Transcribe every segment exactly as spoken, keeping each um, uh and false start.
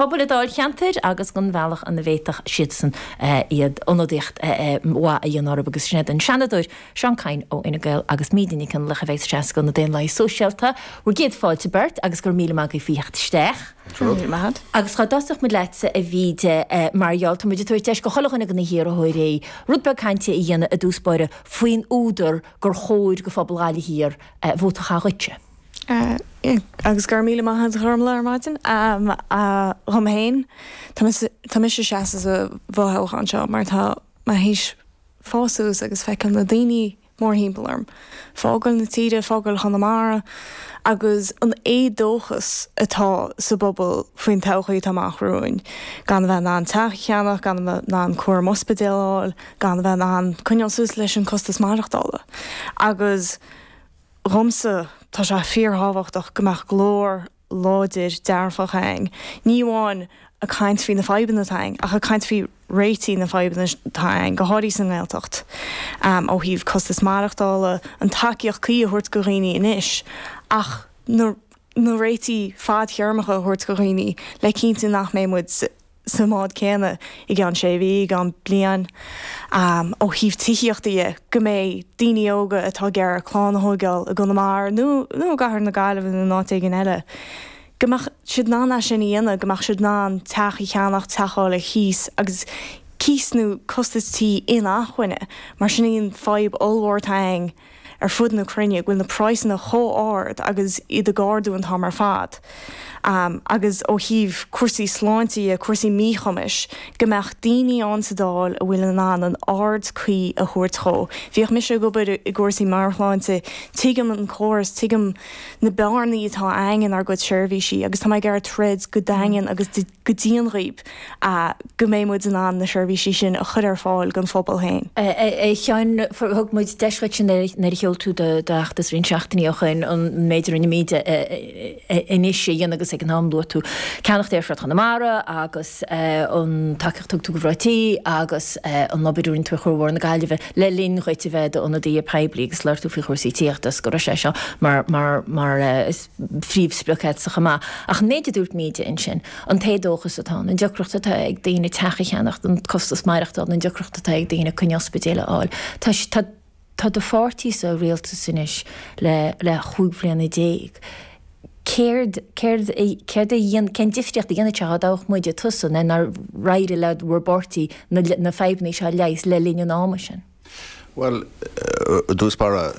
Pobal an dáilcheantair agus don bhealach ina bhféadfadh siadsan iad ionadaíocht mhaith a dhéanamh orthu agus sin iad an Seanadóir Seán Kyne ó Fhine Gael agus Míde Nic Fhionnlaoich a bheidh ag seasamh do na Daonlathaigh Sóisialta. Bhur gcéad fáilte beirt agus go raibh míle maith agaibh faoi theacht isteach. Agus dá dtosódh muid leatsa a Mhíde mar gheall tá muid ag tabhairt deis go chuile dhuine de na hiarrthóirí rud beag cainte a dhéanamh i dtús báire faoin údar gur chóir go phobal Ghaillimh Thiar vóta a chaitheamh dhuitse. Agus go raibh míle maith agat a Ghormfhlaith ar maidin. Dhom féin, tá mise ag seasamh sa bhfothoghchán seo mar tá mé théis fás suas agus feiceáil na daoine mórthimpeall orm, fágáil na tíre, fágáil Chonamara agus an éadóchas atá sa bpobal faoin todhchaí atá amach romhainn, gan a bheith in ann teach a cheannach, gan a bheith in ann cúram ospidéal a fháil, gan a bheith in ann coinneáil suas leis an costas maireachtála. Agus dhomsa, tá sé fíorthábhachtach go mbeadh glór láidir dearfach againn, ní amháin ag caint faoi na fadhbanna atá againn, ach ag caint faoi réitigh na fadhbanna atá againn, go háirithe sa nGaeltacht, ó thaobh costas maireachtála, an tacaíocht cuí a thabhairt go dhaoine anois, ach na na réitigh fadtéarmacha a thabhairt go dhaoine le cinntiú nach mbeidh muid sa mbád céanna i gceann sé mhí, i gceann bliain. Ó thaobh tithíochta dhe, go mbeidh daoine óga atá ag iarraidh clann a thóigeáil i gConamara nó nó i gcathair na Gaillimhe nó in áit éigin eile, go mbeadh siad in ann é sin a dhéanamh, go mbeadh siad in ann teach a cheannach, teach a fháil ar chíos agus cíos nó costas tí inacmhainne, mar sin í an fadhb ollmhór atá againn. ar fud na cruinne, go bhfuil na praghsanna chomh ard agus iad ag ardú an t-am ar fad. Agus ó thaobh cúrsaí sláinte dhe, cúrsaí míchumais, go mbeadh daoine ann sa Dáil a bhfuil in ann an aird cuí a thabhairt dhó. Bhíodh mise ag obair i gcúrsaí meabhairshláinte, tuigim an córas, tuigim na bearnaí atá againn inár gcuid seirbhísí agus tá mé ag iarraidh troid go daingean agus go dian dhaoib go mbeidh muid in ann na seirbhísí sin a chur ar fáil don phobal féin. A Sheáin, thug muid deis dhuit nuair a sheol tú d'fheachtas roinnt seachtainí ó shin an méid a rinne Míde anois a dhéanamh agus ag an am luaigh tú ceannacht Aerfort Chonamara agus an tacaíocht a thug tú do mhná tí agus an obair a rinne tú ar Chuarbhóthar na Gaillimhe le linn dhuit a bheith i d'ionadaí poiblí agus labhair tú faoi chúrsaí tithíochta is go raibh sé seo mar mar mar phríomhsprioc agatsa chomh maith. Ach an méid a dúirt Míde ansin, an t-éadóchas atá ann, an deacracht atá ag daoine teach a cheannacht, an costas maireachtála, an deacracht atá ag daoine coinne ospidéil a fháil, tá tá tá do pháirtí sa rialtas anois le le chúig bhliana déag. Céard céard céard a dhéan cén difríocht a dhéanfadh sé dá dtoghfadh muide tusa nó nár éirigh le bhur bpáirtí na na fadhbanna seo a leigheas le linn an ama sin? Bhuel, i dtús báire,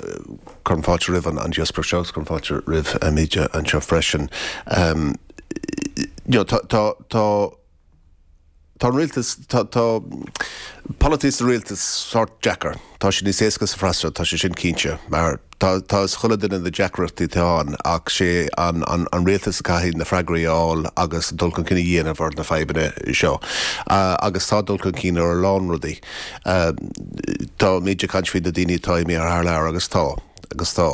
cuirim fáilte roimh an díospóireacht seo agus cuirim fáilte roimh Míde anseo freisin. You know, tá, tá, tá, tá an rialtas, tá, tá polaitíocht sa rialtas sórt deacair. Tá sé níos éasca sa bhfreasúra, tá sé sin cinnte, mar tá, tá fhios chuile duine na deacrachtaí atá ann ach sé an, an, an rialtas a caithfidh na freagraí a fháil agus dul chun cinn a dhéanamh ar na fadhbanna seo. Agus tá dul chun cinn ar a lán rudaí. Tá Míde ag caint faoi na daoine atá imithe thar lear agus tá, agus tá.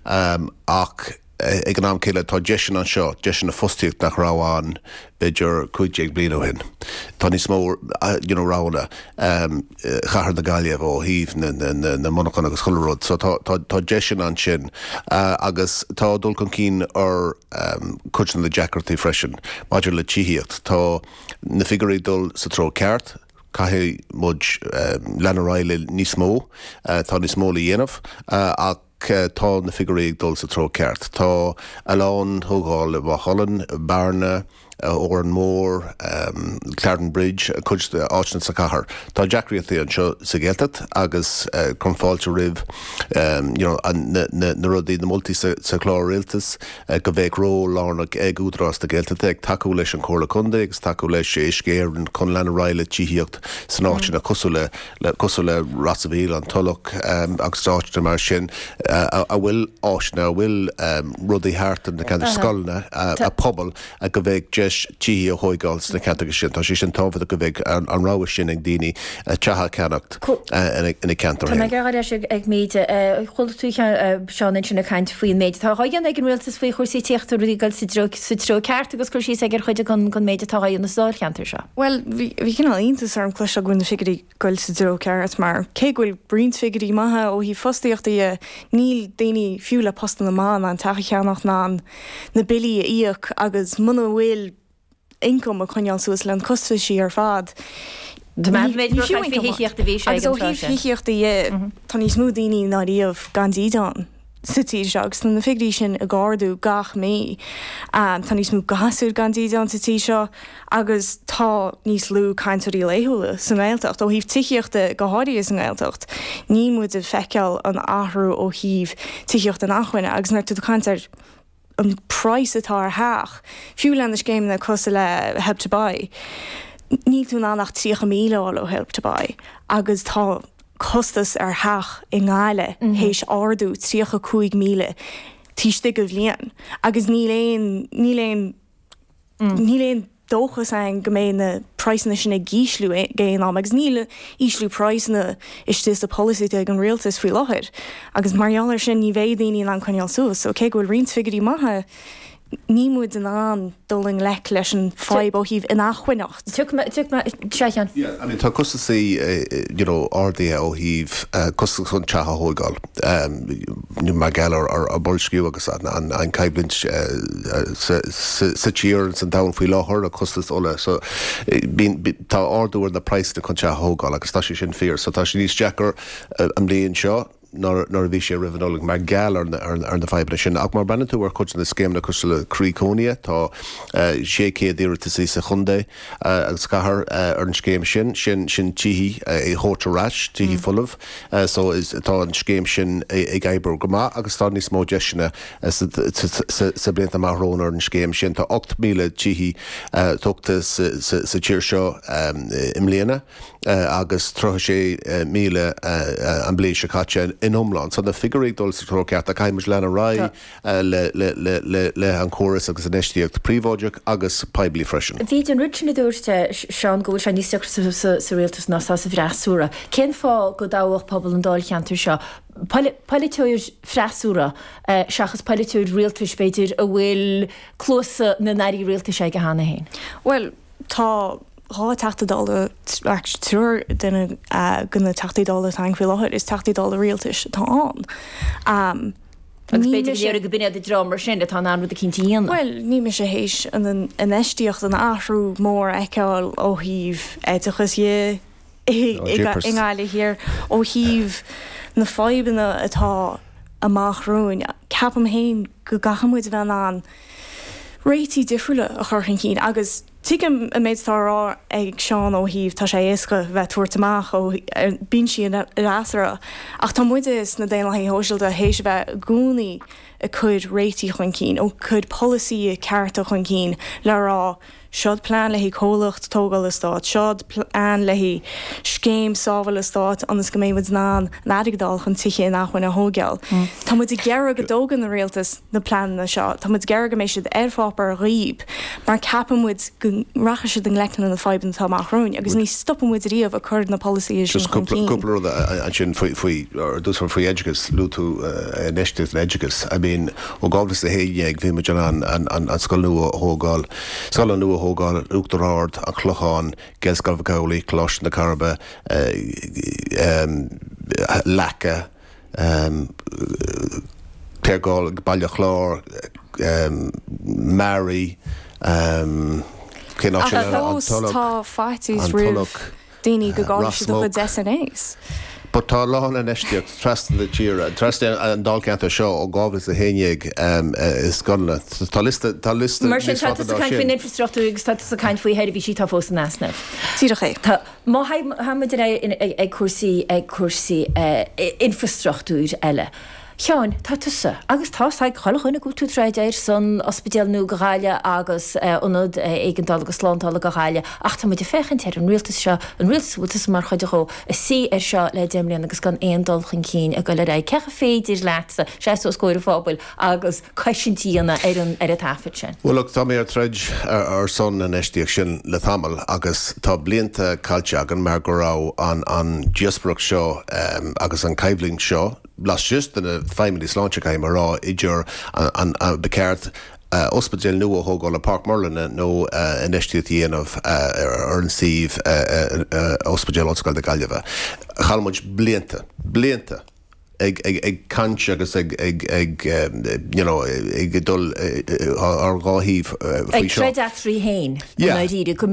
Ach ag an am céanna tá deiseanna anseo, deiseanna fostaíocht nach raibh ann b'fhéidir cúig déag bliain ó shin. Tá níos mó you know roghanna chathair na Gaillimhe ó thaobh na na na monarchan agus chuile rud. So tá tá tá deiseanna ansin agus tá dul chun cinn ar cuid de na deacrachtaí freisin maidir le tithíocht. Tá na figiúirí ag dul sa treo ceart. Caithfidh muid lean ar aghaidh le níos mó. Tá níos mó le dhéanamh ach tá na figiúirí ag dul sa treo ceart. Tá a lán tógáil i Maigh Cuilinn, Bearna, Órán Mór, Clarinbridge, cuid de áiteanna sa chathair. Tá deacrachtaí anseo sa Ghaeltacht agus cuirim fáilte roimh you know na na rudaí, na moltaí sa sa chlár rialtais go bheadh ról lárnach ag Údarás na Gaeltachta ag tacú leis an Chomhairle Contae agus tacú leis Uisce Éireann chun lean ar aghaidh le tithíocht san áiteanna cosúil le le cosúil le Ros a' Mhíl, An Tulach agus áiteanna mar sin a bhfuil áiseanna, a bhfuil rudaí thart ar na ceantair scoileanna, a pobal go bheadh deis tithí a thóigeáil sna ceantracha sin. Tá sé sin tábhachtach go bheadh an rogha sin ag daoine teach a cheannacht ina ceantar Tá mé féin. ag iarraidh leis ag Míde. Chuala tú Seán ansin ag caint faoin méid atá á dhéanamh ag an rialtas faoi chúrsaí tithíochta, rudaí ag dul sa treo sa treo ceart agus cur síos aige ar chuid den méid atá á dhéanamh sa dáilcheantar seo. Bhuel, bhí bhí cineál iontas orm cloisteáil go bhfuil na figiúirí ag goil sa dtreo ceart mar cé go bhfuil roinnt figiúirí maithe ó thaobh fostaíochta dhe, níl daoine fiú le postanna maithe in ann teach a cheannach ná na billí a íoc agus muna bhfuil ioncam a choinneáil suas le na costaisí ar fad. Ní fiú thithíocht a bhí sé Agus ó thaobh thithíochta dhe, tá níos mó daoine ná riamh gan dídean sa tír seo agus tá na figiúirí sin ag ardú gach mí. Tá níos mó gasúr gan dídean sa tír seo agus tá níos lú cainteoirí laethúla sa nGaeltacht. Ó thaobh tithíochta go háirithe sa nGaeltacht, níl muid ag feiceáil an athrú ó thaobh tithíocht inacmhainne agus nuair atá tú ag caint ar an price atá ar theach, fiú le na scéimeanna cosúil le Help to Buy, níl tú in ann ach tríocha míle a fháil ó Help to Buy agus tá costas ar theach i nGaillimh théis ardú tríocha cúig míle taobh istigh de bhliain agus níl aon níl aon níl aon dóchas ann go mbeidh na praghsanna sin ag ísliú ag aon am agus níl ísliú praghsanna istigh sa polasaí ag an rialtas faoi láthair agus mar gheall air sin ní bheidh daoine in ann coinneáil suas. So cé go bhfuil roinnt figiúirí maithe níl muid in ann dul i ngleic leis an fadhb ó thaobh inacmhainneacht. Sea, a Sheáin. Yeah, I mean tá costasaí you know ardaithe ó thaobh costas chun teach a thógáil mar gheall ar ar boilsciú agus an an an coimhlint sa sa tír san domhan faoi láthair a costas ola so bíonn tá ardú ar na praghsanna chun teach a thógáil agus tá sé sin fíor so tá sé níos deacair an bhliain seo nuair a bhí sé roimh an Nollaig mar gheall ar ar na fadhbanna sin. Ach má bhreathnaíonn tú ar chuid de na scéimeanna cosúil le Croí Cónaithe, tá sé chéad iarratasaí sa chontae agus cathair ar an scéim sin, sin sin tithe a thabhairt ar ais, tithe folamh. So is tá an scéim sin ag oibriú go maith agus tá níos mó deiseanna sa sa blianta amach romhainn ar an scéim sin. Tá ocht míle tithe tógtha sa sa tír seo i mbliana. agus tríocha sé míle an bhliain seo caite in iomlán. So na figiúirí ag dul sa treo ceart ach caithfidh muid lean ar aghaidh le le an córas agus infheistíocht príobháideach agus poiblí freisin. Bhí an rud sin a dúirt Seán go bhfuil sé níos deacra sa rialtas ná sa bhfreasúra. Cén fáth go dtoghfadh pobal an dáilcheantair seo polaiteoir freasúra seachas polaiteoir rialtais b'fhéidir a bhfuil cluasa na n-airí rialtais aige cheana féin? Bhuel, tá dhá Teachta Dála, actually triúr duine de na Teachtaí Dála atá ann faoi láthair, is Teachtaí Dála rialtais atá ann. Agus b'fhéidir go léirigh go b'in iad an dream mar sin atá in ann rud eicínt a dhéanamh. Bhuel, ní mise théis an infheistíocht, an athrú mór a fheiceáil ó thaobh oideachais dhe i nGaillimh Thiar, ó thaobh na fadhbanna atá amach romhainn. Ceapaim féin go gcaithfidh muid a bheith in ann réitigh difriúla a chur chun cinn agus tuigim an méid atá á rá ag Seán ó thaobh tá sé éasca bheith tabhairt amach ó binsí an fhreasúra ach tá muide sna Daonlathaithe Shóisialta théis a bheith i gcónaí ag cur réitigh chun cinn, ag cur polasaithe cearta chun cinn le rá Seod plean le haghaidh comhlacht tógála stáit, seod plean le haghaidh scéim sábhála stáit ionas go mbeidh muid in ann an airgead a fháil chun tithe inacmhainne a thógáil. Tá muid ag iarraidh go dtógann an rialtas na pleananna seo, tá muid ag iarraidh go mbeidh siad ar pháipéar dhaoib mar ceapann muid go rachaidh siad i ngleic le na fadhbanna atá amach romhainn agus ní stopfaidh muid riamh ag cur na polasaithe sin Just chun cúpla cinn. cúpla rud ansin faoi faoi ar dtús faoi oideachas, luaigh tú infheistíocht in oideachas. I mean ó dhá mhíle is a haon déag bhí muid in ann an an an scoil nua a thógáil, scoileanna nua a thógáil, Uachtar Ard, An Clochán, Gaelscoil Mhic Amhlaigh, Coláiste na Coiribe, Leaca, Claregalway, Baile Chláir, Mearaí, cén áit Ach eile? An fós Tulach, tá faitíos An roimh Tulach, daoine go gcaillfidh Ros siad a Muc. gcuid SNAs. But tá a lán infheistíocht trasna na tíre, trasna an dáilcheantar seo ó dhá mhíle is a haon déag i scoileanna. Tá liosta, tá liosta Mar sin níos tá fada tusa ná ag caint sin. faoin infrastruchtúr agus tá tusa ag caint faoi sheirbhísí atá fós in easnamh. Díreach é. Tá, má théimid ar aghaidh ag cúrsaí, ag cúrsaí infrastruchtúir eile. Sheáin, tá tusa, agus tá's ag chuile dhuine go bhfuil tú ag troid ar son ospidéal nua do Ghaillimh agus ionad éigeandála agus slándála do Ghaillimh, ach tá muid ag féachaint ar an rialtas seo, an rialtas a bhfuil tusa mar chuid dhó, ag suí air seo le deich mbliana agus gan aon dul chun cinn ag dul ar aghaidh. Cén chaoi féidir leatsa seasamh os comhair an phobail agus cosaint a dhéanamh ar an ar an taifead sin? Bhuel look, tá mé ag troid ar son na infheistíocht sin le tamall agus tá blianta caillte againn mar go raibh an an díospóireacht seo agus an coimhlint seo laistigh de na feidhmeannaigh sláinte, caithfidh mé a rá, idir an ba cheart ospidéal nua a thógáil i Páirc Murlainne nó infheistíocht a dhéanamh ar an suíomh Ospidéal Ollscoile na Gaillimhe. Chaill muid blianta, blianta ag ag ag caint agus ag ag ag you know ag dul ar dhá thaobh faoi seo. Ag troid eatarthu féin, i ndáiríre, go